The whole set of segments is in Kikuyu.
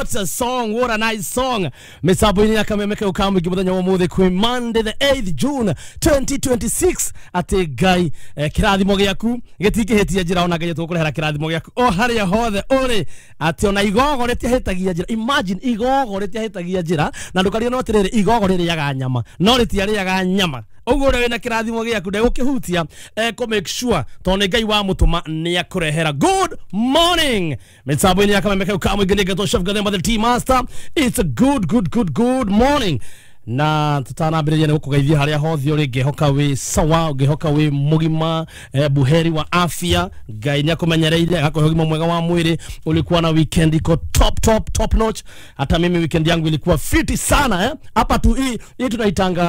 What a song, what a nice song. Mitambo-inĩ ya Kameme kau ka mũingĩ mũthenya wa ũmũthĩ kwĩ Monday the 8th June 2026, atĩ Ngai kĩrathimo gĩaku gĩtingĩhĩtia njĩra, ona Ngai tũkũrehera kĩrathimo gĩaku o harĩa hothe ũrĩ, atĩ ona igogo rĩtiahĩtagia njĩra. Imagine, igogo rĩtiahĩtagia njĩra, na ndũkariganĩrwo atĩrĩrĩ, igogo rĩrĩaga nyama no rĩtiarĩaga nyama. Ũguo ũrĩa wĩna kĩrathimo gĩaku ndegũkĩhutia, kũ make sure tondũ nĩ Ngai wamũtũma nĩ akũrehera. Good morning, mitambo-inĩ ya Kameme kau ka mũingĩ, nĩ ngetwo Chef Gathemba the Tea Master. It's a good, good, good, good morning, na tutanambĩrĩria nĩ gũkũgeithia harĩa hothe ũrĩ. Ngĩhoka wĩ sawa, ngĩhoka wĩ mũgima, buheri wa afya. Ngai nĩ akũmenyereire, agakũhe ũgima mwega wa mwĩrĩ. Ulikuwa na weekend iko top, top, top notch. Hata mimi weekend yangu ilikuwa fiti sana, eh? Hapa tu hii tunaitanga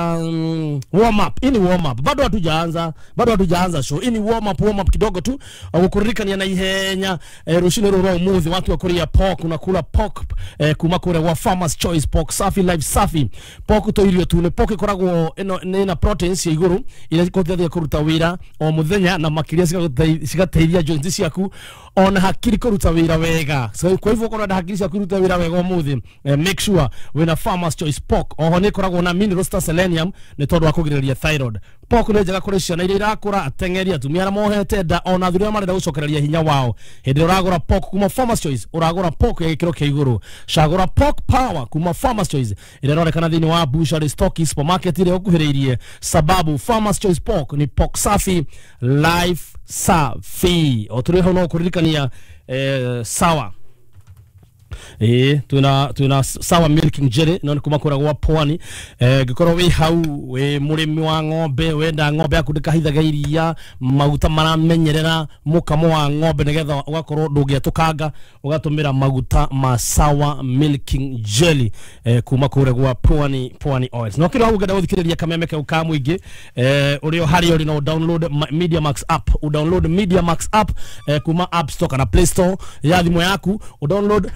warm up. Hii ni warm up, bado hatujaanza, bado hatujaanza show. Hii ni warm up, warm up kidogo tu, gũkũririkania na ihenya, rũcinĩ rũrũ rwa ũmũthĩ watu wa kũrĩa pork, unakula pork kuma kũrĩa gwa Farmers Choice. Pork safi, life safi. Pork to irio tu nĩ pork ĩkoragwo ĩno nĩ na proteins cia igũrũ iria ikũteithagia kũruta wĩra o mũthenya, na makĩria cigateithia joints ciaku ona hakiri kũruta wĩra wega. So kwa hivyo ũkorwo na hakiri ciaku iruta wĩra wega ũmũthĩ, make sure wĩna Farmers Choice pork. Oho nĩ ĩkoragwo na minerals ta selenium nĩ tondũ wa kũgirĩrĩria thyroid. Pork nĩ njega kũrĩ ciana iria irakũra, ateng'eri, atumia arĩa mohete nda, ona athuri arĩa marenda gũcokereria hinya wao. Hĩndĩ ĩrĩa ũragũra pork kuma Farmers Choice, ũragũra pork ya gĩkĩro kĩa igũrũ. Cagũra Pork Power kuma Farmers Choice ĩrĩa ĩronekana thĩinĩ wa butchery, stock, supermarket ĩrĩa ũkuhĩrĩirie, sababu Farmers Choice pork ni pork safi, life safi. O tũrĩ hau no kũririkania, sawa, ĩĩ, twina Sawa Milking Jelly, no nĩ kuma kũrĩa gwa Pwani. Ngĩkorwo wĩ hau wĩ mũrĩmi wa ng'ombe, wenda ng'ombe yaku ndĩkahithaga iria, maguta maramenyerera mũkamo wa ng'ombe nĩgetha ũgakorwo ndũngĩetũkanga, ũgatũmĩra maguta ma Sawa Milking Jelly kuma kũrĩa gwa Pwani, Pwani Oils. No kĩrĩa hau ũngĩenda gũthikĩrĩria Kameme kau ka mũingĩ, ũrĩ o harĩa ũrĩ, no download Media Max app, download Media Max app kuma App Store kana Play Store ya thimũ yaku. Download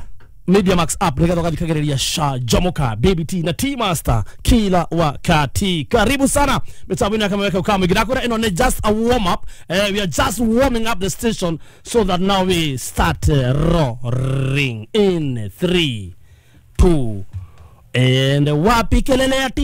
Media Max app nĩgetha ũgathikagĩrĩria Sha Jamoka, Baby T na T Master kila wakati. Karibu sana mitambo ya Kameme kau ka mũingĩ. Ndakwĩra ĩno nĩ just a warm up. We are just warming up the station so that now we start roaring in 3 2 and wapi kelele ya